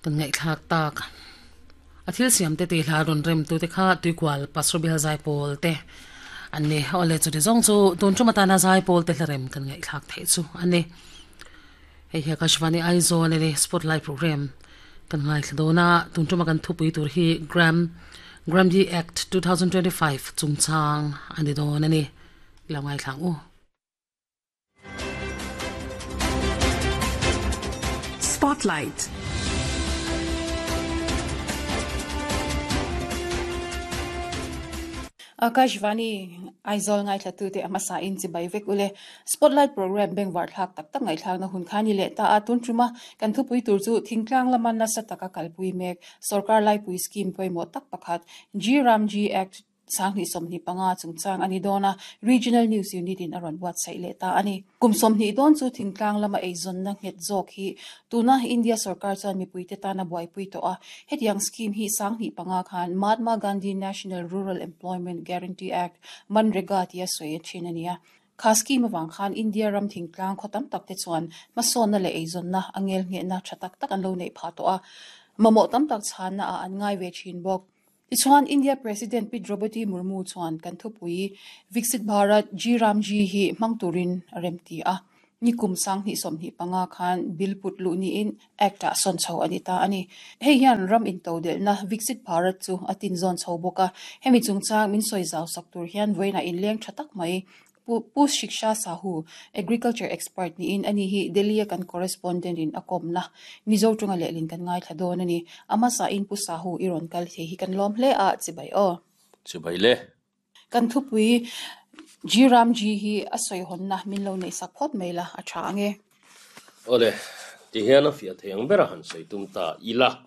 Kan ngaihthlak tak. A thil siam te tih hla rawn rem tu te kha Tuikual Pastor Bial Zaipawl te an ni. Awle chuti zawng chu tun tum atana Zaipawl te hla rem kan ngaihthlak theih chu a ni. Hei hi Akashvani Aizawl a ni Spotlight Program kan ngaithla dawn a, tun tuma kan thupui tur hi Gram Gramdi Act 2025 chungchang a ni dawn a ni. Lo ngaithla ang u. Spotlight. Akashvani Aizawl ngaithlatute a hmasa in chibai vek ule. Spotlight program bengvar thlak tak tak ngaihthlakna hun kha ni leh ta a, tun tuma kan thupui tur chu thingtlang lama nasa taka kalpui mek sorkar laipui scheme pawimawh tak pakhat G Ramji Act 2025 chungchang a ni dawn a, Regional News Unit in a rawn buatsaih leh ta a ni. Kum 20 dawn chu thingtlang lama eizawnna nghet zawk hi tuna India sorkar chuan mipuite tan a buaipui tawh a. Hetiang scheme hi 2005 khan Mahatma Gandhi National Rural Employment Guarantee Act, MNREGA tia sawi a thin a ni a. Kha scheme avang khan India ram thingtlang khaw tam tak te chuan hmasawnna leh eizawnna a ngelngehna tha tak tak an lo neih phah tawh a, mamawh tam tak chhanna ah an ngai ve thin bawk. Tichuan, India President Pi Droupadi Murmu chuan kan thupui Viksit Bharat G Ram G hi hmang turin a remti a. Nikum 2025 khan bill put luh niin Act-ah sawn chho a ni ta a ni. Hei hian ram intodelhna Viksit Bharat chu a tinzawn chho bawk a. Hemi chungchang min sawi zau sak tur hian vawiinah inleng tha tak mai Pu Shiksha Sahu, Agriculture Expert niin ani hi Delhi-a kan correspondent in a kawmna Mizo tunga lehlin kan ngaithla dawn a ni. A hmasain Pu Sahu i rawn kal thei hi kan lawm hle a, chibai aw. Chibai le. Kan thupui G Ram G hi a sawihawnna min lo neihsak phawt mai la, a tha ang e. Awle, tihian a fiah thei ang bera han sawi tum ta ila.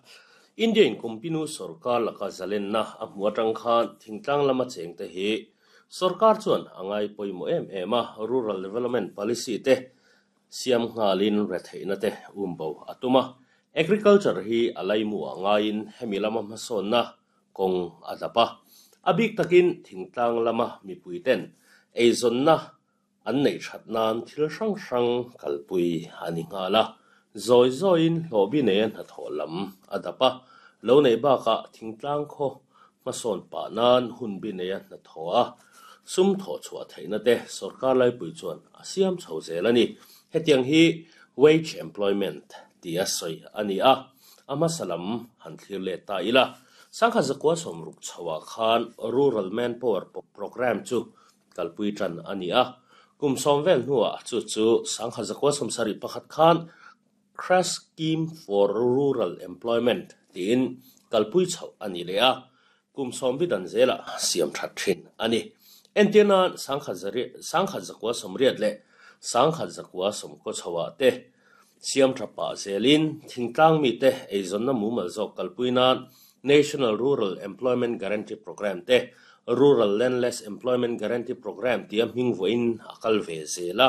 India in Kumpinu sorkar laka zalenna a hmu atang khan thingtlang lama chengte hi Sorkar chuan a ngai pawimawh em em a, Rural Development Policy te siam nghalin retheihna te umbo a tum a. Agriculture hi a laimu ah ngaiin hemi lama hmasawnna kawng a dap a. A bik takin thingtlang lama mipui ten eizawnna an neih that nan thil hrang hrang kalpui a ni nghal a. Zawi zawiin hlawhbi neia hnathawh lam a dap a, lo neih bakah thingtlang khaw hmasawn pah nan hunbi neia hnathawh a, sum thawh chhuah theihna te sorkar laipui chuan a siam chho zel a ni. Hetiang hi wage employment tia sawi a ni a, a hmasa lam han thlir let ta ila. Sangha zakua sawmruk chhoah khan Rural Manpower Programme chu kalpui tan a ni a, kum sawm vel hnuah chu chu sangha zakua sawmsarih pakhat khan Crash Scheme for Rural Employment tiin kalpui chhoh a ni leh a, kum sawm bi dan zelah siam that thin a ni. Entir nan sangha sangha zakua sawmriat leh sangha zakua sawmkaw chhoah te siam tha pah zelin thingtlang mite eizawnna mumal zawk kalpui nan National Rural Employment Guarantee Programme te Rural Landless Employment Guarantee Programme tia hming vuahin a kal ve zel a.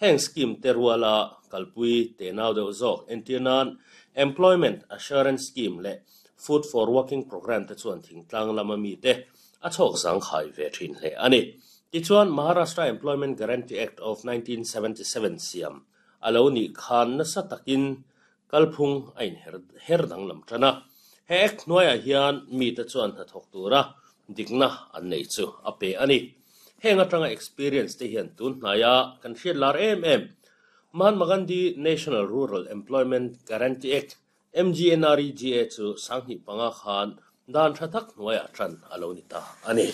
Heng scheme te ruala kalpui tenau deuh zawk entir nan Employment Assurance Scheme leh Food for Working Programme te chuan thingtlang lama mite a chhawk zangkhai ve thin hle a ni. Tichuan Maharashtra Employment Guarantee Act of 1977 siam a lo nih khan nasa takin kalphung a inher her danglam tan a. He Act hnuaiah hian mite chuan hnathawk tura dikna an nei chu a pe a ni. Heng atanga experience te hian tun hnaia kan hriat lar em em Mahatma Gandhi National Rural Employment Guarantee Act, MGNREGA, chu 2005 khan dan tha tak hnuaiah tan a lo ni ta a ni.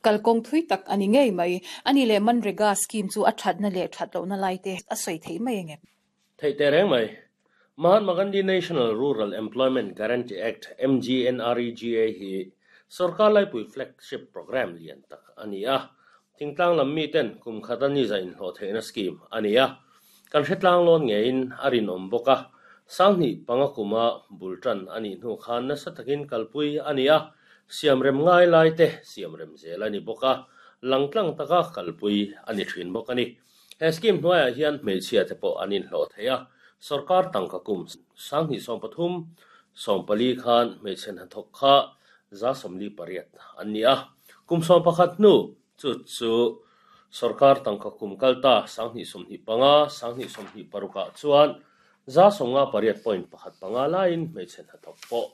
Kalkawng thui tak a ni ngei mai. A ni leh Manrega scheme chu a thatna leh that lohna lai te a sawi theih mai ang em? Theih teh reng mai. Mahatma Gandhi National Rural Employment Guarantee Act, MGNREGA, hi sorkar laipui flagship programme lian tak a ni a. Thingtlang lam miten kum khata ni za inhlawh theihna scheme a ni a. Kan hretlang lawn ngeiin a rinawm bawk a. 2005 kuma bul tan a nih hnu khan nasa takin kalpui a ni a, siamrem ngai lai te siamrem zel a ni bawk a, langtlang taka kalpui a ni thin bawk a ni. He scheme hnuaiah hian hmeichhia te pawh an inhlawh thei a, sorkar tangka kum 2023, 14 khan hmeichhe hnathawk kha 48 an ni a, kum 11 hnu chu chu sorkar tangka kum kal ta 2025, 2026 ah chuan. 58.15 laiin hmeichhe hnathawk pawh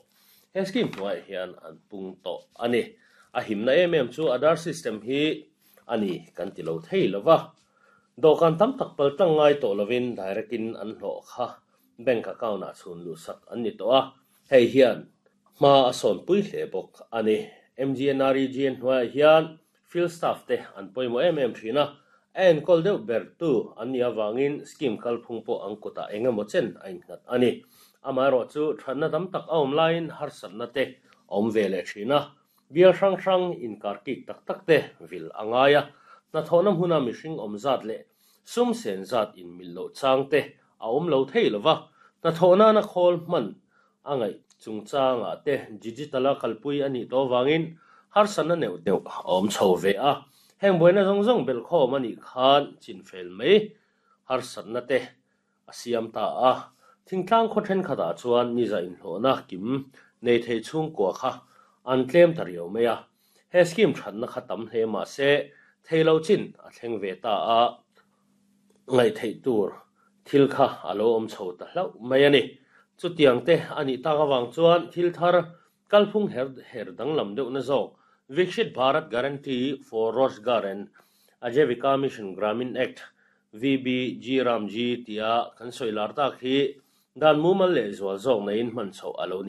he scheme hnuaiah hian an pung tawh a ni. A himna em em chu Aadhaar system hi a ni kan ti lo thei lo va, dawhkan tam tak pal tlang ngai tawh lovin direct in an hlawh kha bank account ah chhun luhsak an ni tawh a, hei hian hma a sawnpui hle bawk a ni. MGNREGN hnuaiah hian field staff te an pawimawh em em thin a, a enkawl deuh ber tu an nih avangin scheme kalphung pawh an kutah eng emaw chen a innghat a ni. Amaherawhchu thatna tam tak a awm laiin harsatna te a awm ve leh thin a, Bial hrang hrang inkar kik tak tak te vil a ngai a, hnathawhna hmuna mihring awm zat leh sum sen zat inmilh loh chang te a awm lo thei lo va, hnathawh nana khawl hman a ngaih chungchangah te digital a kalpui a nih tawh avangin harsatna neuh neuh a awm chho ve a, heng buaina zawng zawng belhkhawm a nih khan chinfel mai harsatna te a siam ta a. Thingtlang khaw thenkhatah chuan niza inhlawhna kim nei thei chhungkua kha an tlem ta riau mai a. He scheme thatna kha tam hle mah se thei lo chin a thleng ve ta a, ngaihtheih tur thil kha a lo awm chho ta hlauh mai a ni. Chutiang te a nih tak avang chuan thil thar kalphung her her danglam deuhna zawk Viksit Bharat Guarantee for Rozgar and Ajeevika Mission Gramin Act VBG Ramji tia kan sawi lar tak hi dan mumal leh zual zawk neiin hman chhoh a lo ni.